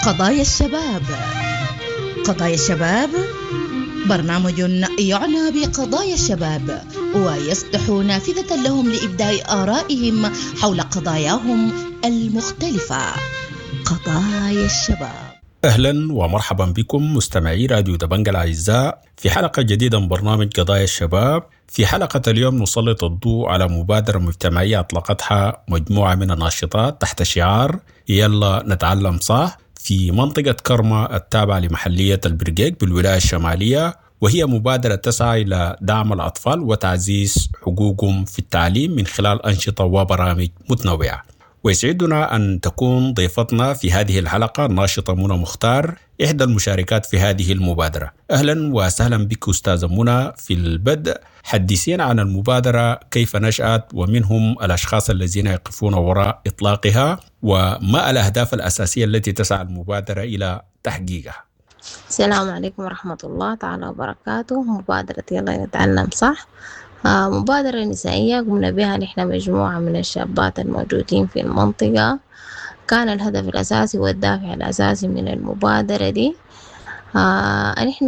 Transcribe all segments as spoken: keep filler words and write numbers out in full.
قضايا الشباب. قضايا الشباب برنامج يعنى بقضايا الشباب ويفتح نافذة لهم لإبداء آرائهم حول قضاياهم المختلفة. قضايا الشباب. أهلا ومرحبا بكم مستمعي راديو دبنج الأعزاء في حلقة جديدة من برنامج قضايا الشباب. في حلقة اليوم نسلط الضوء على مبادرة مجتمعية أطلقتها مجموعة من الناشطات تحت شعار يلا نتعلم صح في منطقة كرمة التابعة لمحلية البرقيق بالولاية الشمالية، وهي مبادرة تسعى إلى دعم الأطفال وتعزيز حقوقهم في التعليم من خلال أنشطة وبرامج متنوعة. ويسعدنا أن تكون ضيفتنا في هذه الحلقة الناشطة منى مختار، إحدى المشاركات في هذه المبادرة. أهلا وسهلا بك أستاذة منى. في البدء حدثينا عن المبادرة، كيف نشأت، ومنهم الأشخاص الذين يقفون وراء إطلاقها، وما الأهداف الأساسية التي تسعى المبادرة إلى تحقيقها. السلام عليكم ورحمة الله تعالى وبركاته. مبادرة يلا نتعلم صح مبادرة نسائية قمنا بها نحن مجموعة من الشابات الموجودين في المنطقة. كان الهدف الأساسي والدافع الأساسي من المبادرة دي آه نحن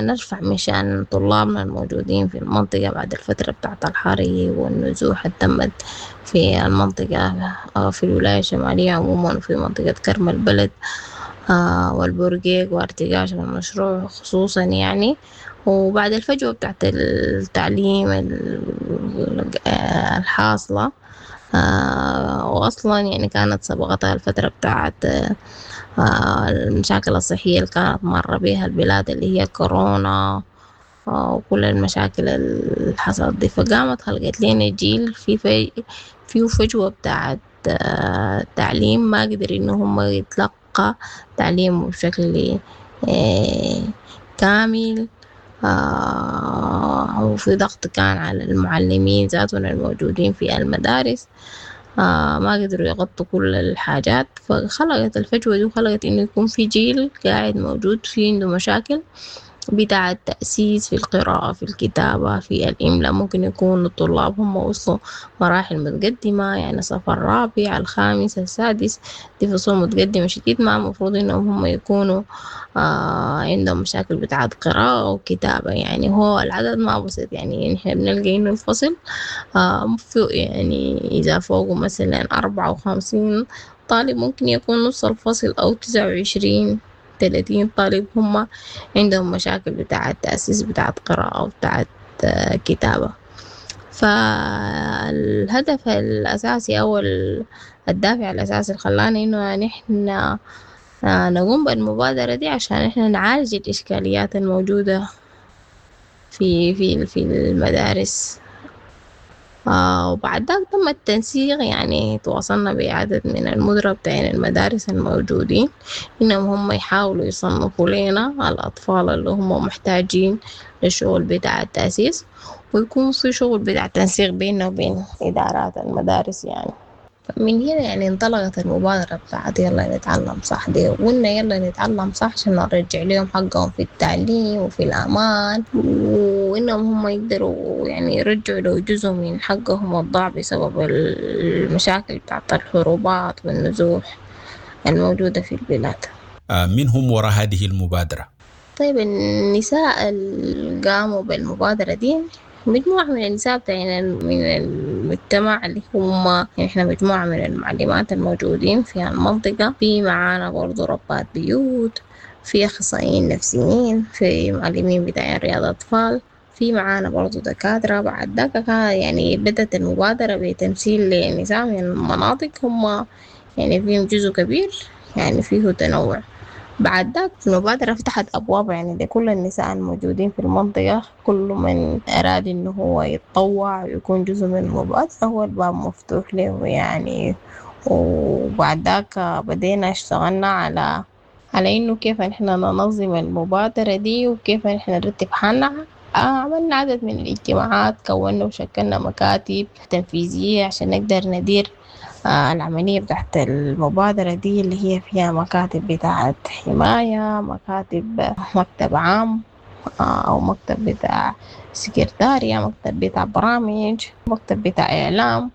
نرفع من شأن طلابنا الموجودين في المنطقة بعد الفترة بتاعت الحريق والنزوح اللي تمت في المنطقة في الولاية الشمالية عموما وفي منطقة كرم البلد آه والبرقيق وارتقاش المشروع خصوصا يعني. وبعد الفجوة بتاعت التعليم الحاصلة آه وأصلا يعني كانت سبقتها الفترة بتاعت آه المشاكل الصحية اللي كانت مر بها البلاد اللي هي كورونا آه وكل المشاكل اللي حصلت دي، فقامت خلقت لنا جيل في في فيه فجوة بتاعت آه تعليم ما قدر إنه هم يتلقى تعليم بشكل آه كامل. آه وفي ضغط كان على المعلمين ذاتهم الموجودين في المدارس آه ما قدروا يغطوا كل الحاجات، فخلقت الفجوة دي وخلقت إنه يكون في جيل قاعد موجود في عنده مشاكل بتاع التأسيس في القراءة في الكتابة في الإملاء. ممكن يكون الطلاب هم وصلوا مراحل متقدمة يعني صف الرابع الخامس السادس، دي فصول متقدمة شديد، ما المفروض إنهم هم يكونوا آه عندهم مشاكل بتاعت قراءة وكتابة. يعني هو العدد ما بسيط، يعني نحن بنلقى إنه الفصل آه يعني إذا فوقه مثلا أربعة وخمسين طالب ممكن يكون نص الفصل أو تسعة وعشرين ثلاثين طالب هم عندهم مشاكل بتاعة تأسيس بتاعة قراءة وبتاعة كتابة. فالهدف الأساسي أو الدافع الأساسي اللي خلانا إنه نحن نقوم بالمبادرة دي عشان إحنا نعالج الإشكاليات الموجودة في في في المدارس. آه وبعد ذاك تم التنسيق، يعني تواصلنا بعدد من المدراء بتاعين المدارس الموجودين إنهم هم يحاولوا يصنفوا لنا الأطفال اللي هم محتاجين للشغل بتاع التأسيس، ويكون في شغل بتاع تنسيق بيننا وبين إدارات المدارس. يعني من هنا يعني انطلقت المبادرة بتاعت يلا نتعلم صح دي، وقلنا يلا نتعلم صح عشان نرجع لهم حقهم في التعليم وفي الأمان، وإنهم هم يقدروا يعني يرجعوا لو جزء من حقهم الضاع بسبب المشاكل بتاعت الحروبات والنزوح الموجودة في البلاد. من هم وراء هذه المبادرة؟ طيب النساء اللي قاموا بالمبادرة دي مجموعة من النساء بتاعين من المجتمع اللي هم يعني إحنا مجموعة من المعلمات الموجودين في المنطقة، في معانا برضو ربات بيوت، في أخصائيين نفسيين، في معلمين بتاعين رياض أطفال، في معانا برضو دكاترة. بعد ذاك كان يعني بدأت المبادرة بتمثيل لنساء من المناطق هم يعني فيهم جزء كبير يعني فيه تنوع. بعد ذاك المبادرة فتحت أبواب يعني لكل النساء الموجودين في المنطقة، كل من أراد إنه هو يتطوع ويكون جزء من المبادرة هو الباب مفتوح له يعني. وبعد ذاك بدينا اشتغلنا على على إنه كيف نحن ننظم المبادرة دي وكيف نحن نرتب حالنا. عملنا عدد من الاجتماعات، كونا وشكلنا مكاتب تنفيذية عشان نقدر ندير العملية بتاعت المبادرة دي اللي هي فيها مكاتب بتاعت حماية، مكاتب مكتب عام أو مكتب بتاع سكرتارية، مكتب بتاع برامج، مكتب بتاع إعلام.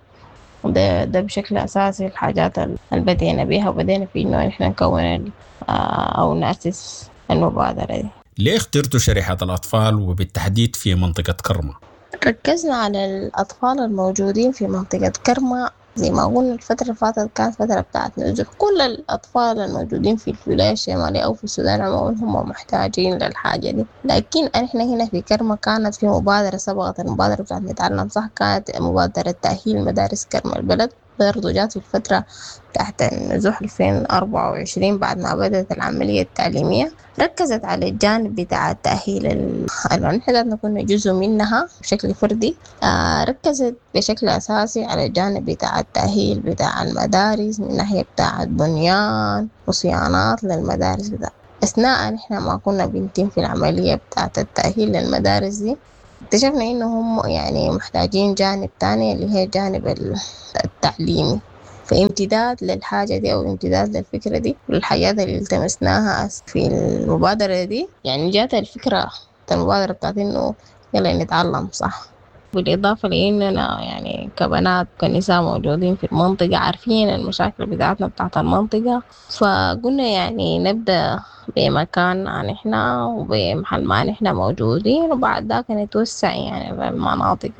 ده, ده بشكل أساسي الحاجات اللي بدينا بيها، وبدينا في إنه نحن نكون أو نأسس المبادرة دي. ليه اخترتوا شريحة الأطفال وبالتحديد في منطقة كرمة؟ ركزنا على الأطفال الموجودين في منطقة كرمة. زي ما قلنا الفترة اللي فاتت كانت فترة بتاعت نزوح، كل الأطفال الموجودين في الولاية الشمالية أو في السودان عموما هم محتاجين للحاجة دي. لكن إحنا هنا في كرمة كانت في مبادرة سبقت المبادرة بتاعت نتعلم صح، كانت مبادرة تأهيل مدارس كرمة البلد، برضو جات في الفترة تحت النزوح ألفين وأربعة وعشرين بعد ما بدأت العملية التعليمية. ركزت على الجانب بتاع التأهيل ال-، نحن ذاتنا كنا جزء منها بشكل فردي. آه، ركزت بشكل أساسي على الجانب بتاع التأهيل بتاع المدارس من ناحية بتاع بنيان وصيانات للمدارس بتاع. أثناء نحن ما كنا بنتم في العملية بتاعة التأهيل للمدارس دي اكتشفنا إنه هم يعني محتاجين جانب تاني اللي هي جانب ال-، التعليمي. فامتداد للحاجة دي أو امتداد للفكرة دي والحاجات اللي التمسناها في المبادرة دي، يعني جات الفكرة المبادرة بتاعت إنه يلا نتعلم صح. بالإضافة لإننا يعني كبنات وكنساء موجودين في المنطقة عارفين المشاكل بتاعتنا بتاعت المنطقة، فقلنا يعني نبدأ بمكان نحن وبمحل ما نحن موجودين، وبعد ذاك نتوسع يعني للمناطق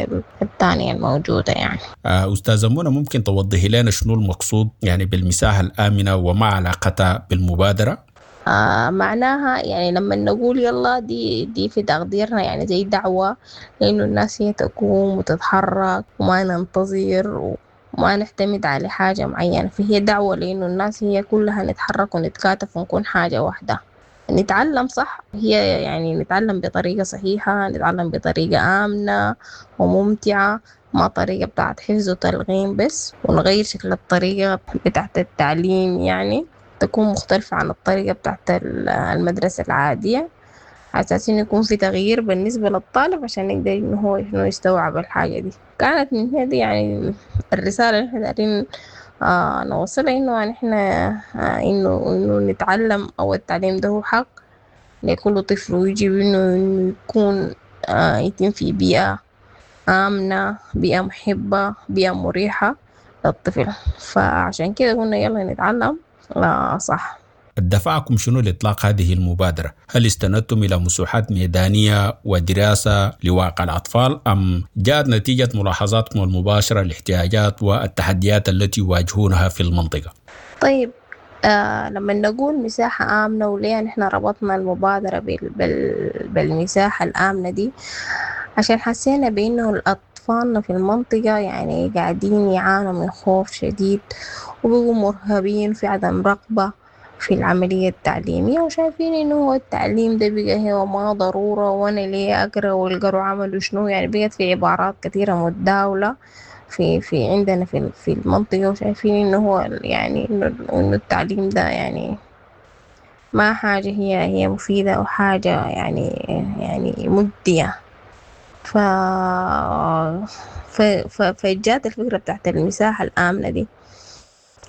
الثانية الموجودة. يعني آه، أستاذة منى، ممكن توضحي لنا شنو المقصود يعني بالمساحة الآمنة وما علاقتها بالمبادرة؟ آه، معناها يعني لما نقول يلا دي، دي في تقديرنا يعني زي دعوة لأنه الناس هي تقوم وتتحرك وما ننتظر وما نعتمد على حاجة معينة، فهي دعوة لأنه الناس هي كلها نتحرك ونتكاتف ونكون حاجة واحدة. نتعلم صح، هي يعني نتعلم بطريقة صحيحة، نتعلم بطريقة آمنة وممتعة، ما طريقة بتاعت حفظ وتلغيم بس، ونغير شكل الطريقة بتاعت التعليم يعني تكون مختلفة عن الطريقة بتاعت ال-، المدرسة العادية، على أساس إنه يكون في تغيير بالنسبة للطالب عشان يقدر إنه هو إنه يستوعب الحاجة دي. كانت من هنا دي يعني الرسالة اللي إحنا دايرين، آه، نوصلها، إنه يعني إحنا، آه، إنه، إنه نتعلم أو التعليم ده هو حق لكل طفل، ويجب إنه، إنه يكون، آه، يتم في بيئة آمنة، بيئة محبة، بيئة مريحة للطفل. فعشان كده قلنا يلا نتعلم لا صح. دفعكم شنو لإطلاق هذه المبادرة؟ هل استندتم إلى مساحات ميدانية ودراسة لواقع الأطفال أم جاءت نتيجة ملاحظاتكم المباشرة للاحتياجات والتحديات التي يواجهونها في المنطقة؟ طيب، آه، لما نقول مساحة آمنة وليه نحن ربطنا المبادرة بال-، بال-، بالمساحة الآمنة دي؟ عشان حسينا بأنه الأطفال في المنطقة يعني قاعدين يعانوا من خوف شديد وبقوا مرهبين في عدم رغبة في العملية التعليمية، وشايفين إنه هو التعليم ده بقى هو ما ضرورة، وأنا ليه أقرأ والقروا عملوا شنو، يعني بقت في عبارات كثيرة متداولة في، في عندنا في، في المنطقة، وشايفين إنه هو يعني إنه، إنه التعليم ده يعني ما حاجة هي، هي مفيدة أو حاجة يعني، يعني مجدية. ف، ف، ف، فجات الفكرة بتاعت المساحة الآمنة دي.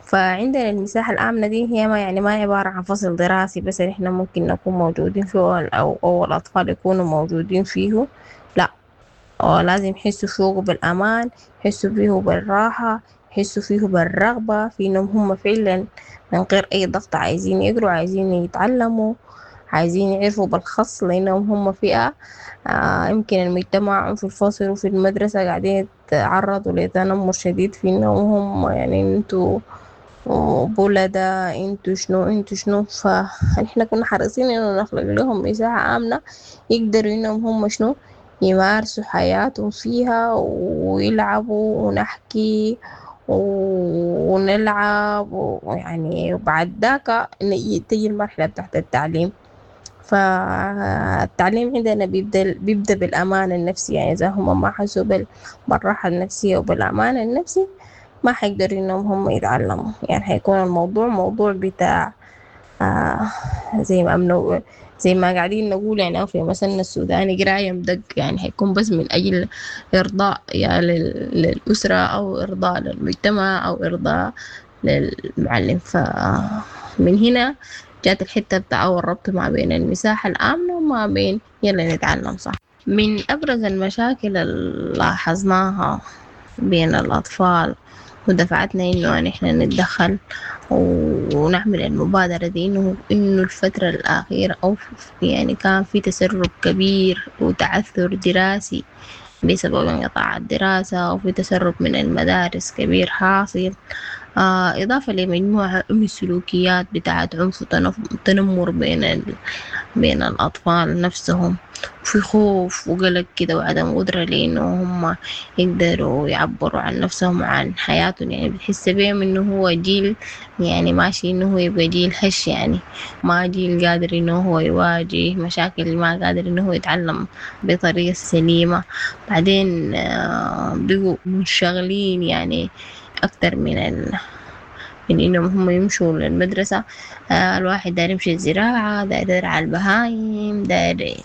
فعندنا المساحة الآمنة دي هي ما يعني ما عبارة عن فصل دراسي بس إحنا ممكن نكون موجودين فيه أو، أو الأطفال يكونوا موجودين فيه، لا، أو لازم يحسوا فيه بالأمان، يحسوا فيه بالراحة، يحسوا فيه بالرغبة في إنهم هم فعلا من غير أي ضغط عايزين يقروا، عايزين يتعلموا، عايزين يعرفوا بالخص، لأنهم هم فئة، آه، يمكن المجتمع في الفصل وفي المدرسة قاعدين يتعرضوا لتنمر شديد في إنهم هم يعني انتوا بولدا، انتوا شنو، انتوا شنو. فنحن كنا حريصين إنه نخلق لهم مساحة آمنة يقدروا إنهم هم شنو يمارسوا حياتهم فيها ويلعبوا ونحكي ونلعب، ويعني وبعد ذاك تيجي المرحلة بتاعت التعليم. فالتعليم عندنا بيبدأ، بيبدأ بالأمان النفسي، يعني إذا هم ما حسوا بال-، بالراحة النفسية وبالأمان النفسي ما حيقدروا إنهم هم يتعلموا، يعني حيكون الموضوع موضوع بتاع، آه، زي ما أمنوا، زي ما قاعدين نقول يعني في مثلنا السوداني قراية مدق، يعني حيكون بس من أجل إرضاء يا لل-، للأسرة أو إرضاء للمجتمع أو إرضاء للمعلم. فمن هنا جات الحتة بتاع أول ربط ما بين المساحة الآمنة وما بين يلا نتعلم صح. من أبرز المشاكل اللي لاحظناها بين الأطفال ودفعتنا إنه نحن نتدخل ونعمل المبادرة دي، إنه إنه الفترة الأخيرة أو يعني كان في تسرب كبير وتعثر دراسي بسبب انقطاع الدراسة، وفي تسرب من المدارس كبير حاصل، آه إضافة لمجموعة من السلوكيات بتاعت عنف وتنمر بين ال... بين الأطفال نفسهم، وفي خوف وقلق كده وعدم قدرة لأنه هم يقدروا يعبروا عن نفسهم وعن حياتهم. يعني بتحس بيهم إنه هو جيل يعني ماشي إنه هو يبقى جيل هش، يعني ما جيل قادر إنه هو يواجه مشاكل، ما قادر إنه هو يتعلم بطريقة سليمة. بعدين آه بقوا منشغلين يعني أكتر من ال... من إنهم هم يمشوا للمدرسة. آه الواحد داير يمشي الزراعة، داير يرعى البهايم، داير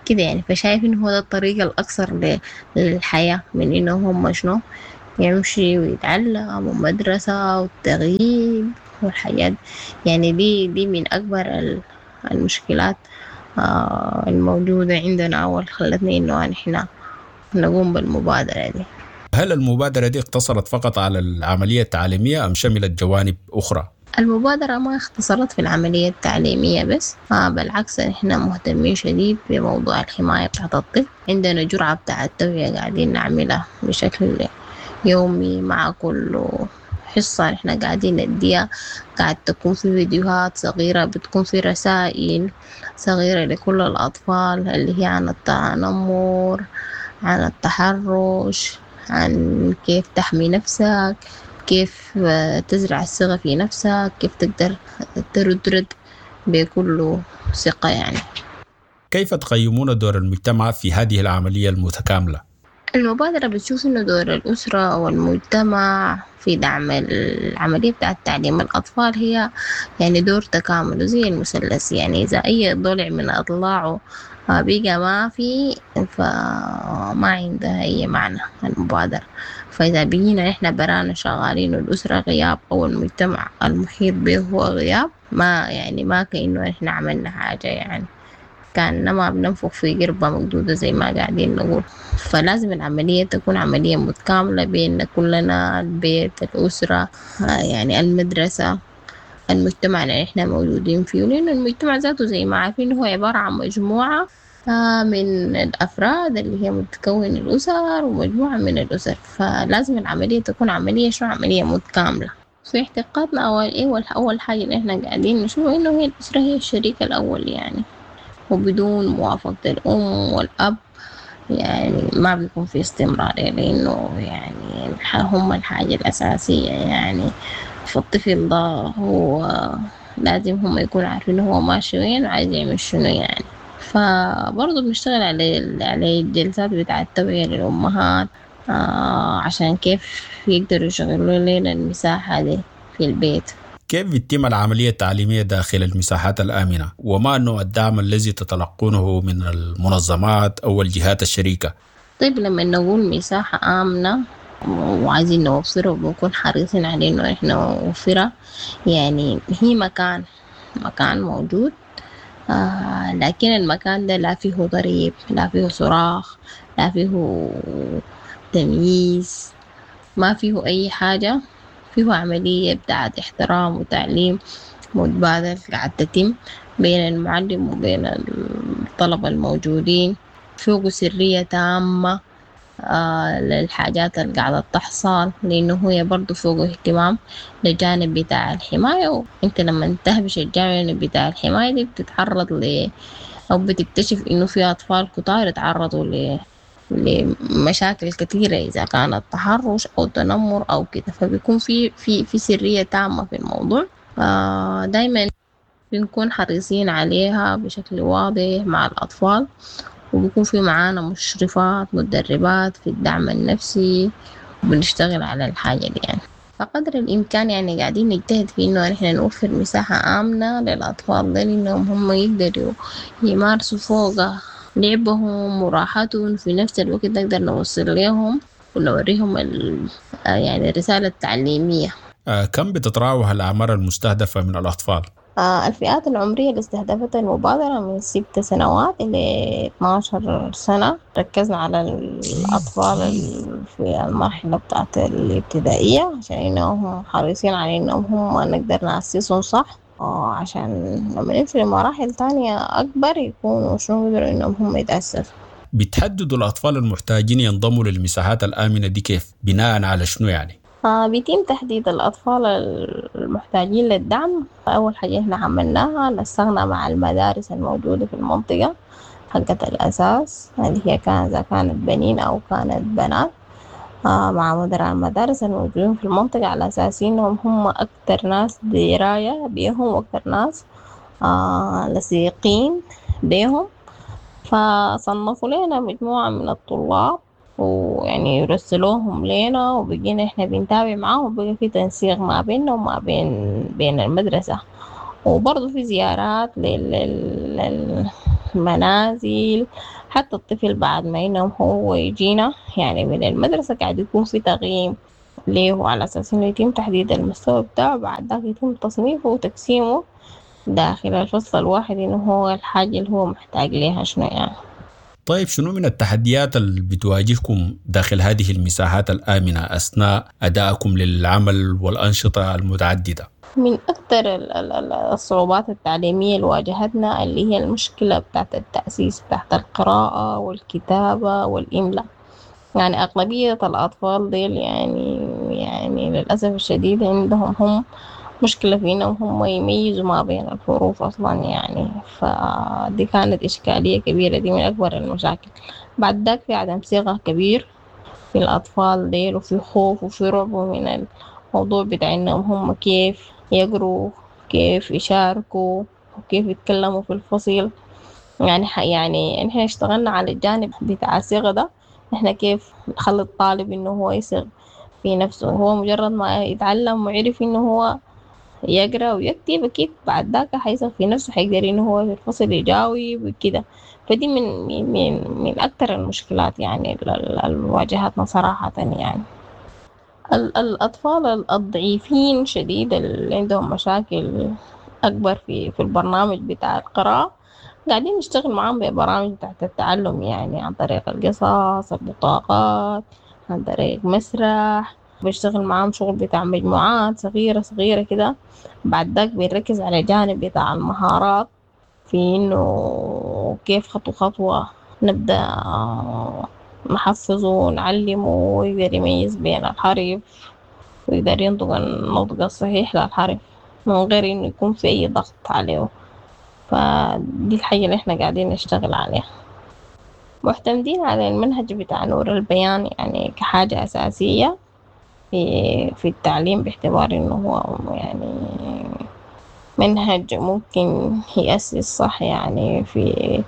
كده يعني. فشايف إنه هو ده الطريق الأقصر للحياة، من إنه هم شنو يمشي ويتعلم ومدرسة والتغييب والحياة. يعني دي دي من أكبر المشكلات آه الموجودة عندنا أو خلتنا إنه نحن نقوم بالمبادرة دي. هل المبادرة دي اقتصرت فقط على العملية التعليمية أم شملت جوانب أخرى؟ المبادرة ما اختصرت في العملية التعليمية بس، آه بالعكس نحن مهتمين شديد بموضوع الحماية بتاعت الطفل. عندنا جرعة بتاعت التوعية قاعدين نعملها بشكل يومي مع كل حصة نحن قاعدين نديها، قاعد تكون في فيديوهات صغيرة، بتكون في رسائل صغيرة لكل الأطفال اللي هي عن التنمر، عن التحرش، عن كيف تحمي نفسك، كيف تزرع الثقة في نفسك، كيف تقدر ترد رد بكل ثقة. يعني كيف تقيمون دور المجتمع في هذه العملية المتكاملة؟ المبادرة بتشوف إنه دور الأسرة والمجتمع في دعم العملية بتاعة تعليم الأطفال هي يعني دور تكامل زي المثلث. يعني إذا أي ضلع من أضلاعه بقى ما في، فما عندها أي معنى المبادرة. فإذا بقينا إحنا برانا شغالين والأسرة غياب أو المجتمع المحيط به هو غياب، ما يعني ما كأنه إحنا عملنا حاجة، يعني كأنما بننفخ في قربة مقدودة زي ما قاعدين نقول. فلازم العملية تكون عملية متكاملة بين كلنا، البيت، الأسرة، يعني المدرسة، المجتمع اللي احنا موجودين فيه. لأن المجتمع ذاته زي ما عارفين هو عبارة عن مجموعة من الأفراد اللي هي متكون الأسر ومجموعة من الأسر. فلازم العملية تكون عملية شو عملية متكاملة. في اعتقادنا أول إيه أول حاجة اللي احنا قاعدين نشوف إنه هي الأسرة هي الشريك الأول، يعني وبدون موافقة الأم والأب يعني ما بيكون في استمرار، لأنه يعني هم الحاجة الأساسية. يعني فالطفل ده هو لازم هم يكونوا عارفين هو ماشي وين وعايز يعمل شنو يعني. فبرضه بنشتغل على على الجلسات بتاعة التوعية للأمهات آه عشان كيف يقدروا يشغلوا لنا المساحة دي في البيت. كيف بتتم العملية التعليمية داخل المساحات الآمنة؟ وما نوع الدعم الذي تتلقونه من المنظمات أو الجهات الشريكة؟ طيب لما نقول مساحة آمنة وعايزين نوفرها وبنكون حريصين على إنه إحنا نوفرها، يعني هي مكان مكان موجود، آه لكن المكان ده لا فيه ضريب، لا فيه صراخ، لا فيه تمييز، ما فيه أي حاجة. فيه عملية بتاعت احترام وتعليم متبادل قاعد تتم بين المعلم وبين الطلبة الموجودين. فيه سرية تامة آه للحاجات اللي قاعدة تحصل، لأنه هي برضو فوق اهتمام للجانب بتاع الحماية. وانت لما تهبش الجانب بتاع الحماية دي بتتعرض ل أو بتكتشف إنه في أطفال كتار اتعرضوا ل لمشاكل كثيرة إذا كانت تحرش أو تنمر أو كده، فبيكون في في في سرية تامة في الموضوع. آه دايما بنكون حريصين عليها بشكل واضح مع الأطفال، وبيكون في معانا مشرفات مدربات في الدعم النفسي، وبنشتغل على الحاجة دي يعني. فقدر الإمكان يعني قاعدين نجتهد في إنه نحن نوفر مساحة آمنة للأطفال ده، لأنهم هم يقدروا يمارسوا فوقها لعبهم وراحتهم، في نفس الوقت نقدر نوصل لهم ونوريهم يعني الرسالة التعليمية. آه، كم بتتراوح الأعمار المستهدفة من الأطفال؟ آه الفئات العمرية اللي استهدفتها المبادرة من ست سنوات إلى اتناشر سنة. ركزنا على الأطفال في المرحلة بتاعت الابتدائية عشان إنهم حريصين على إنهم هم نقدر نأسسهم صح، عشان لما نمشي لمراحل تانية أكبر يكونوا شنو يقدروا إنهم هم يتأسسوا. بتحددوا الأطفال المحتاجين ينضموا للمساحات الآمنة دي كيف؟ بناء على شنو يعني؟ آه بيتم تحديد الأطفال المحتاجين للدعم. أول حاجة إحنا عملناها نسقنا مع المدارس الموجودة في المنطقة حقة الأساس اللي هي كان إذا كانت بنين أو كانت بنات، آه مع مدراء المدارس الموجودين في المنطقة على أساس إنهم هم أكتر ناس دراية بيهم وأكتر ناس آه لصيقين بيهم. فصنفوا لنا مجموعة من الطلاب ويعني يرسلوهم لنا، وبقينا إحنا بنتابع معاهم، وبقى في تنسيق ما بيننا وما بين بين المدرسة، وبرضه في زيارات لل للمنازل. حتى الطفل بعد ما إنه هو يجينا يعني من المدرسة قاعد يكون في تقييم ليه على أساس إنه يتم تحديد المستوى بتاعه، بعد ذاك يتم تصنيفه وتقسيمه داخل الفصل الواحد إنه هو الحاجة اللي هو محتاج ليها شنو يعني. طيب شنو من التحديات اللي بتواجهكم داخل هذه المساحات الآمنة أثناء أدائكم للعمل والأنشطة المتعددة؟ من أكثر الصعوبات التعليمية اللي واجهتنا اللي هي المشكلة بتاعت التأسيس بتاعت القراءة والكتابة والإملاء. يعني أغلبية الأطفال ديل يعني يعني للأسف الشديد عندهم هم مشكلة في إنهم هم يميزوا ما بين الحروف أصلا يعني، فدي كانت إشكالية كبيرة، دي من أكبر المشاكل. بعد ذاك في عدم ثقة كبير في الأطفال ديل، وفي خوف وفي رعب من الموضوع بتاع إنهم هم كيف يقروا، كيف يشاركوا، وكيف يتكلموا في الفصل. يعني يعني إحنا اشتغلنا على الجانب بتاع الثقة ده، إحنا كيف نخلي الطالب إنه هو يثق في نفسه. هو مجرد ما يتعلم ويعرف إنه هو يقرأ ويكتب أكيد بعد ذاك حيثق في نفسه، حيقدر إنه هو في الفصل يجاوب وكده. فدي من من من أكتر المشكلات يعني اللي واجهتنا صراحة. يعني الأطفال الضعيفين شديد اللي عندهم مشاكل أكبر في في البرنامج بتاع القراءة قاعدين نشتغل معاهم ببرامج بتاعت التعلم، يعني عن طريق القصص، البطاقات، عن طريق مسرح. بشتغل معاهم شغل بتاع مجموعات صغيرة صغيرة كده. بعد ذاك بنركز على جانب بتاع المهارات في إنه كيف خطوة خطوة نبدأ نحفظه ونعلمه ويقدر يميز بين الحرف ويقدر ينطق النطق الصحيح للحرف من غير إنه يكون في أي ضغط عليه. فدي الحاجة اللي إحنا قاعدين نشتغل عليها. معتمدين على المنهج بتاع نور البيان يعني كحاجة أساسية في في التعليم، باعتبار إنه هو يعني منهج ممكن يأسس صح يعني في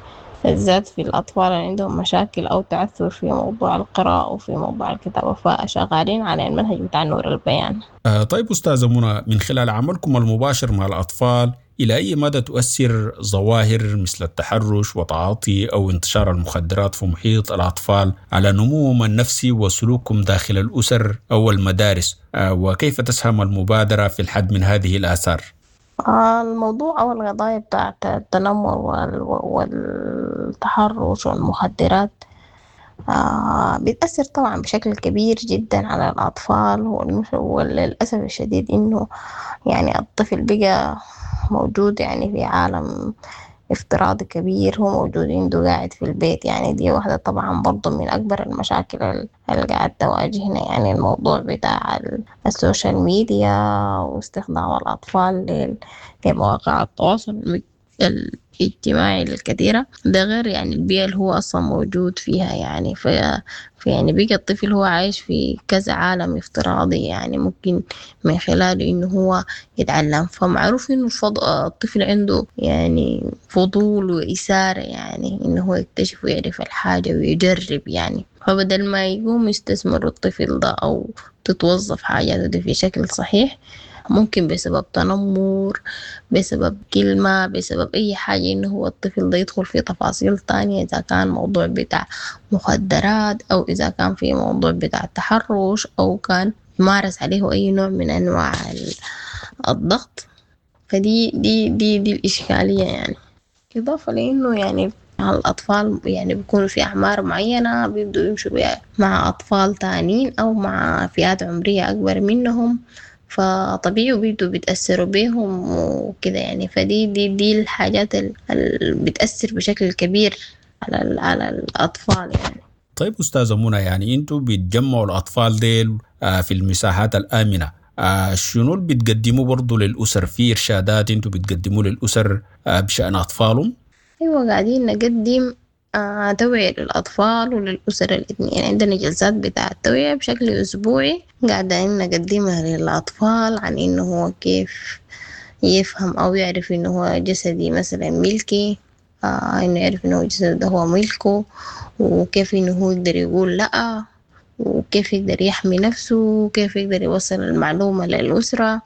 بالذات في الأطفال اللي عندهم مشاكل أو تعثر في موضوع القراءة وفي موضوع الكتابة، فشغالين على المنهج بتاع نور البيان. آه طيب أستاذة منى، من خلال عملكم المباشر مع الأطفال، إلى أي مدى تؤثر ظواهر مثل التحرش وتعاطي أو انتشار المخدرات في محيط الأطفال على نموهم النفسي وسلوكهم داخل الأسر أو المدارس، وكيف تسهم المبادرة في الحد من هذه الآثار؟ الموضوع أو القضايا بتاعت التنمر والتحرش والمخدرات بتأثر طبعا بشكل كبير جدا على الأطفال، وللأسف الشديد إنه يعني الطفل بقى موجود يعني في عالم افتراضي كبير، هو موجود عنده قاعد في البيت. يعني دي واحدة طبعا برضو من أكبر المشاكل اللي قاعد تواجهنا، يعني الموضوع بتاع السوشيال ميديا واستخدام الأطفال لمواقع التواصل الاجتماعي الكثيرة، ده غير يعني البيئة اللي هو أصلا موجود فيها. يعني في يعني بقى الطفل هو عايش في كذا عالم افتراضي، يعني ممكن من خلاله إنه هو يتعلم. فمعروف إنه الطفل عنده يعني فضول وإثارة، يعني إنه هو يكتشف ويعرف الحاجة ويجرب يعني. فبدل ما يقوم يستثمر الطفل ده أو تتوظف حاجاته دي في شكل صحيح، ممكن بسبب تنمر، بسبب كلمة، بسبب أي حاجة، إنه هو الطفل ده يدخل في تفاصيل تانية، إذا كان موضوع بتاع مخدرات أو إذا كان في موضوع بتاع تحرش أو كان مارس عليه أي نوع من أنواع الضغط. فدي دي دي, دي الإشكالية يعني. إضافة لأنه يعني الأطفال يعني بيكونوا في أعمار معينة بيبدوا يمشوا مع أطفال تانيين أو مع فئات عمرية أكبر منهم، فطبيعي بيبدوا بيتأثروا بيهم وكده يعني. فدي دي دي الحاجات اللي بتأثر بشكل كبير على على الأطفال يعني. طيب أستاذة منى، يعني أنتوا بتجمعوا الأطفال ديل في المساحات الآمنة، شنو اللي بتقدموه برضو للأسر؟ في إرشادات أنتوا بتقدموه للأسر بشأن أطفالهم؟ أيوة، قاعدين نقدم آه توعية للأطفال وللأسر الاثنين. يعني عندنا جلسات بتاع التوعية بشكل أسبوعي قاعدين نقدمها للأطفال عن إنه هو كيف يفهم أو يعرف إنه هو جسدي مثلا ملكي، آه إنه يعرف إنه جسده ده هو ملكه، وكيف إنه هو يقدر يقول لأ، وكيف يقدر يحمي نفسه، وكيف يقدر يوصل المعلومة للأسرة.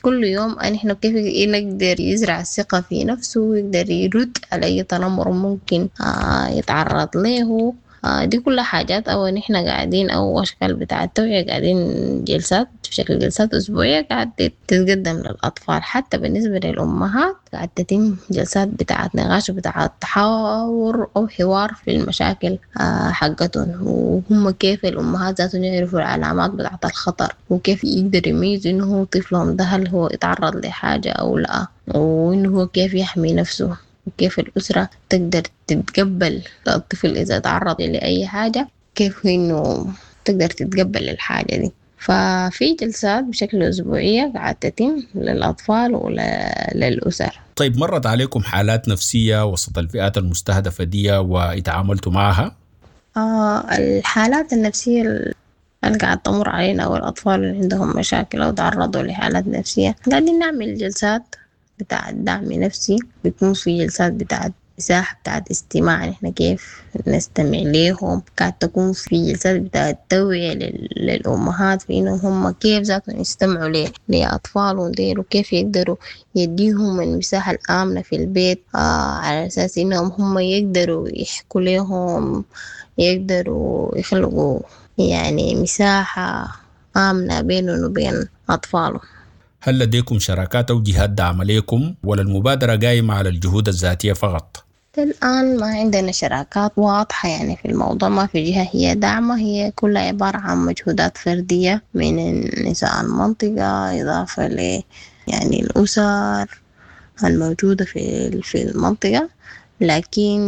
كل يوم نحن كيف نقدر يزرع الثقة في نفسه ويقدر يرد على أي تنمر ممكن آه يتعرض له. آه دي كلها حاجات أو نحن قاعدين أو أشكال بتاع التوعية قاعدين جلسات بشكل جلسات أسبوعية قاعد تتقدم للأطفال. حتى بالنسبة للأمهات قاعد تتم جلسات بتاعة نقاش بتاعة تحاور أو حوار في المشاكل آه حقتهم، وهم كيف الأمهات ذاتهم يعرفوا العلامات بتاعة الخطر، وكيف يقدروا يميزوا إنه هو طفلهم ده هل هو يتعرض لحاجة أو لا، وإنه هو كيف يحمي نفسه، وكيف الأسرة تقدر تتقبل الطفل إذا تعرض لأي حاجة، كيف إنه تقدر تتقبل الحاجة دي. ففي جلسات بشكل أسبوعية قاعدة تتم للأطفال وللأسر. طيب، مرت عليكم حالات نفسية وسط الفئات المستهدفة دي واتعاملتوا معها؟ آه الحالات النفسية اللي قاعدة تمر علينا أو الأطفال اللي عندهم مشاكل أو تعرضوا لحالات نفسية، قاعدين نعمل جلسات بتاع دعم نفسي، بيكون في جلسات بتاعت مساحة بتاعت استماع، نحن كيف نستمع ليهم. قاعد تكون في جلسات بتاعت توعية للأمهات في إنهم هم كيف ذاتهم يستمعوا لأطفالهم ديل، وكيف يقدروا يديهم المساحة الآمنة في البيت، آه على أساس إنهم هم يقدروا يحكوا لهم، يقدروا يخلقوا يعني مساحة آمنة بينهم وبين أطفالهم. هل لديكم شراكات أو جهات داعمة لكم، ولا المبادرة قايمة على الجهود الذاتية فقط؟ الآن ما عندنا شراكات واضحة يعني في الموضوع، ما في جهة هي داعمة، هي كلها عبارة عن مجهودات فردية من نساء المنطقة، إضافة ل يعني الأسر الموجودة في في المنطقة. لكن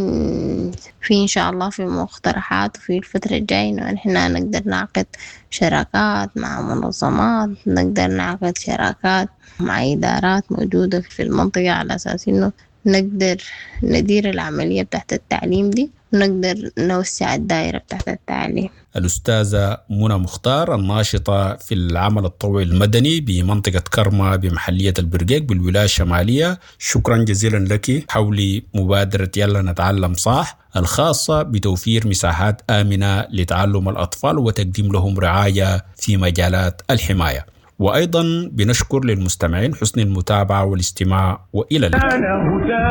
في إن شاء الله في مقترحات في الفترة الجاية إنه نحن نقدر نعقد شراكات مع منظمات، نقدر نعقد شراكات مع إدارات موجودة في المنطقة، على أساس إنه نقدر ندير العملية بتاعت التعليم دي ونقدر نوسع الدائرة بتاعت التعليم. الأستاذة منى مختار، الناشطة في العمل الطوعي المدني بمنطقة كرمة بمحلية البرقيق بالولاية الشمالية، شكرا جزيلا لك حول مبادرة يلا نتعلم صح الخاصة بتوفير مساحات آمنة لتعلم الأطفال وتقديم لهم رعاية في مجالات الحماية. وأيضا بنشكر للمستمعين حسن المتابعة والاستماع، وإلى اللقاء.